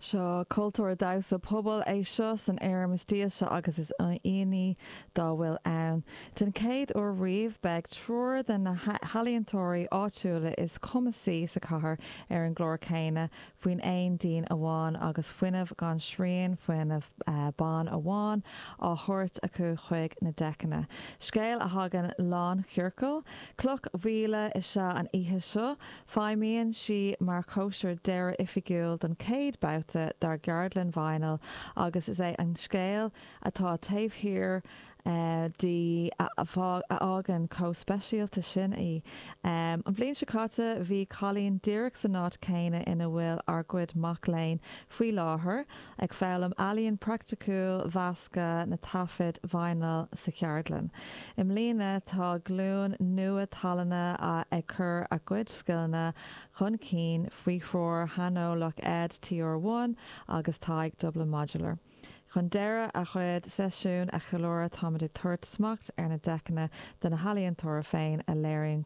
Seo cultúr damhsa pobail é seo san fhoirm is dílse agus is ionannaí dá bhfuil ann. Den chéad uair riamh, beidh triúr de na healaíontóirí áitiúla is cumasaí sa chathair ar an gclár céanna faoin aon díon amháin agus fuinneamh gan srian, fuinneamh ban amháin, á thabhairt acu chuig na deiceanna. Scéal a thagann lánchiorcal. Cloch mhíle is ea an oíche seo. Feidhmíonn sí mar chóisir deireadh oifigiúil don chéad babhta dár gceardlann Vinyl agus is é an scéal atá taobh thiar di a fhágann chomh speisialta sin í. An bhliain seo caite bhí Colleen díreach san áit chéanna ina bhfuil ár gcuid mac léinn faoi láthair, ag foghlaim ealaíon praiticiúil mheascadh na taifid vinyl sa cheardlann. I mbliana tá glúin nua tallainne ag cur a gcuid scileanna chun cinn faoi threoir shaineolach Ed TR1 agus Tadhg Dublin Modular. Chun deireadh a gcuid seisiún a cheiliúradh táimid ag tabhairt smacht ar na deiceanna do na healaíontóirí féin a léiríonn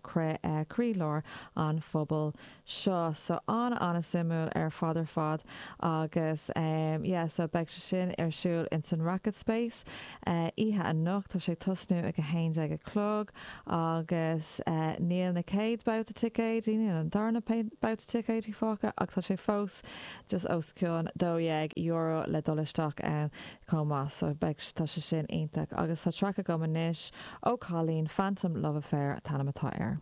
croílár an phobail seo. So an-an-suimiúil ar fad ar fad agus em yeah so beidh sé sin ar siúl ins an Racket Space eh oíche anocht. Tá sé ag tosnú ag 11 a chlog agus eh níl na chéad babhta ticéidí, níl an darna babhta ticéidí fágtha ach tá sé fós just os cionn €12 le dul isteach ann chomh maith so beidh, tá sé sin iontach. Agus tá traic agam anois ó Colleen, Phantom Love Affair an t-ainm atá air.